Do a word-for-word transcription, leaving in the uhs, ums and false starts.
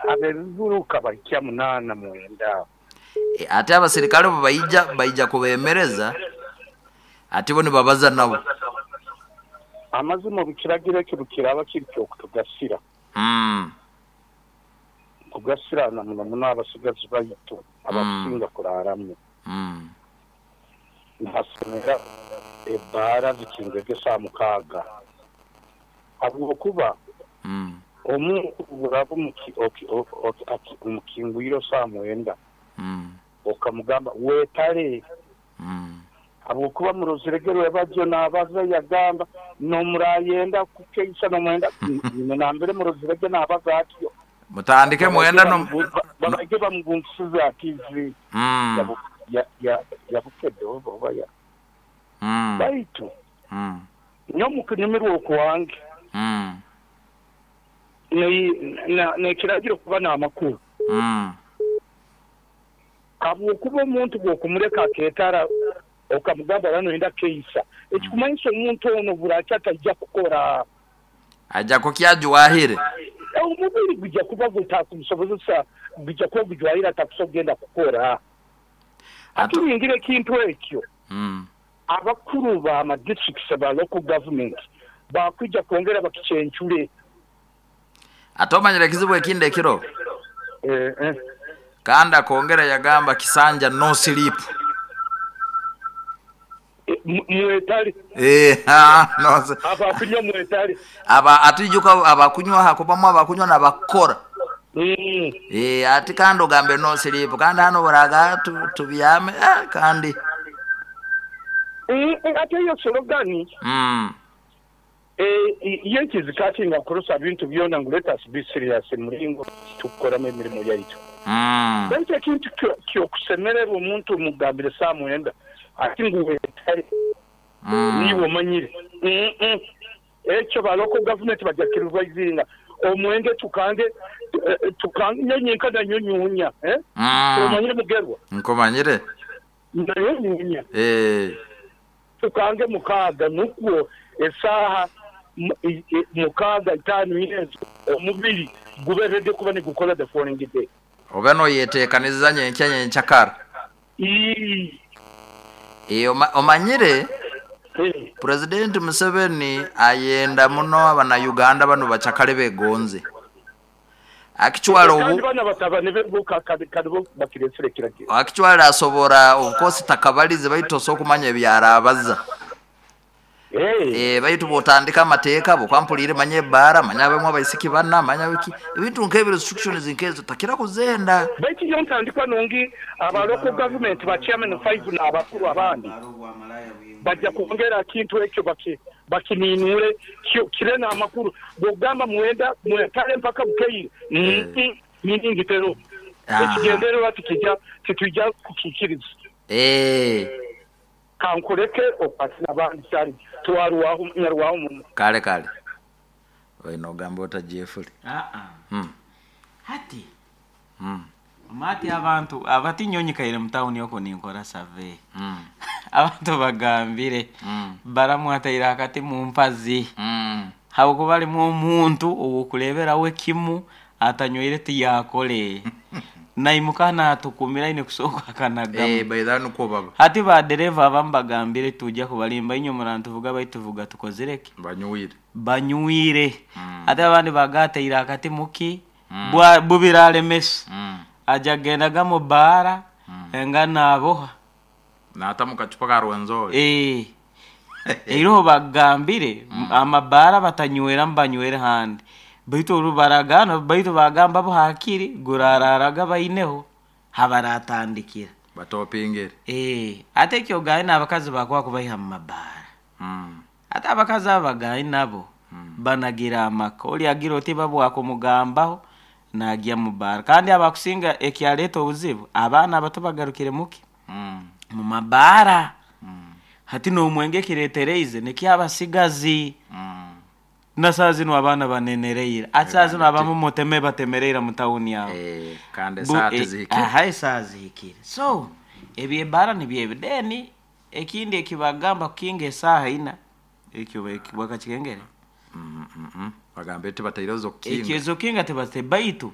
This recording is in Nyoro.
Abebiburuka bahikya munaana, mwenda. E, ate abasirikale bo baija baija kubemereza, ate bo nibabaza nabo. Amazima, obukiragiro ekyo bukiraba kiri kyokutugasira, mm. kugasirana muno muno abasigazi baitu abakusinga kuraramu. Mm. Nihasomera ebbaara zikingege saa mukaaga, habwokuba Mm. omuntu buraba omukingwire saa mwenda, Mm. okamugamba weetale, Mm. habwokuba muroziregerwe bajyo nabaza yagamba nomurayenda kukeisa nomwenda nambere murozirege nabaza atyo. Mutandike mwenda no. Babage bamugunkisiza ativi mm. ya bukedde oba ya Mm. baitu Mm. nyomukunyumirwa okwange, Mm. nekiragiro kuba n'amakuru, Mm. habwokuba omuntu bwokumureka aketara, okamugamba rano keisa, ekikumanyisa omuntu ono buraki atajja kukora. Ajja kukyajuwahire. Omubiri gujja kuba gutakusobozesa, gujja kuba gujwahire, atakusobola kugenda kukora. Atulingira ekintu ekyo, mm. abakuru ba ma districts ba local government bakwijja kwongera bakicyencure. Ate omanyire ekizibu ekindi ekiro? eh, eh. Kandi akongera yagamba kisanja no sleep. Mwetali. Eh, ah, no. Abakunywa mwetali. Aba atijuka abakunywa hakubamu abakunywa nabakora. mm. Eh, ati kandi ogambe no sleep, kandi hano buraga tubyame, eh, kandi mm, ate eyo slogan, mm. eh, yekizikatinga kurusa bintu byona ngu let us be serious muringo tukukoramu emirimu yaitu. mm. Baitu ekintu kyokusemererwa, omuntu mugambire saa mwenda ati ngu wetale, mm. niwe omanyire. mm ekyo ba local government bajja kiruvayizinga omwenge tukange, eh, tukange nyonyi nanyo nyunya, eh? mm. Omanyire mugerwa? Nkomanyire. Nayo nyunya. Eh tukange mukaaga, nukwo esaaha mukaaga, itaano, ezo omubiri gube ready kuba nigukola the following day. Obe noyeteekaniza nyenkya nyenkyakara. E, omanyire Eh. President Museveni ayenda muno abana Uganda bano bacakale begonze akichwala Kandi obu bana batabani be bo kadi bo bakiresire kiragiro. Akichwala asobora, of course takabalize, baitu osobola okumanya ebyarabaza. Eh. E, baitu bwotandika amateeka bukwampulire, manya ebbaara, manya abamwe abaisiki bana, manya biki, ebintu nk'ebyo, restrictions nkezo takira kuzenda. Baitu yo ntandikwa nungi, aba local government ba chairman five n'abakuru abandi bajja kwongera kintu ekyo baki bakininure kire n'amakuru bwogamba mwenda mwetale mpaka bukeire, Eh. meaning tero Aha. ekigendererwa tikijja titujja kukikiriza. Eh, kankureke okwate n'abandi kyali twarwaho nyarwaho muno. Kale kale, oina ogamba ota Jeffrey? Ah, ah. mm. Hati mm. mati abantu abatinyonyikaire mutawuni oko ninkora survey, mm. abantu bagambire mm. baramwataire akati mu mpazi, mm. habwokuba alimu omuntu owokureberawo ekimu atanywire tiyakole naimuka natukumira aine kusooka akanagamu. Eh, baitha nukwo baba. Hati badereva abamu bagambire tujja kubalimba inyo murantuvuga, baituvuga tukozireki? Banywire. Banywire. Mm. Ate abandi bagateire akati muki Mm. bwa bubiralemesa, mm. aja gendaga mu baara Mm. enga naboha. Nata mukacupa ka Rwenzori. Eh, eriho bagambire amabaara batanywera banywere handi, baitu oru baragana, baitu bagamba bo hakiri gurararaga baineho habaratandikira. Batopingire. Eh, ate ekyo gayi n'abakazi bakuba kubaiha mu mabaara. mm. Ate abakazi abo bagayi nabo Mm. banagira amaka, oli agira oti babwakumugambaho nagya mu baara, kandi abakusinga ekyaleeta obuzibu abaana abato bagarukire muki? Mm. Mu mabaara. Mm. Hati n'omwenge ekireetereize nikyabasigazi. Mm. Na saa zino abaana banenereire, ati saa zino abamu muteme batemereire mu tawuni aho. Eh, kandi Bu- esaha eh, tizihikire. Aha, esaaha zihikire, so ebyebaara nibyo then ekindi ekibagamba kukinga esaaha ina, ekyo bakakikengere. Mm, mm, mm. bagambe tibataireho Ekyo zokukinga. ezokinga tebate, baitu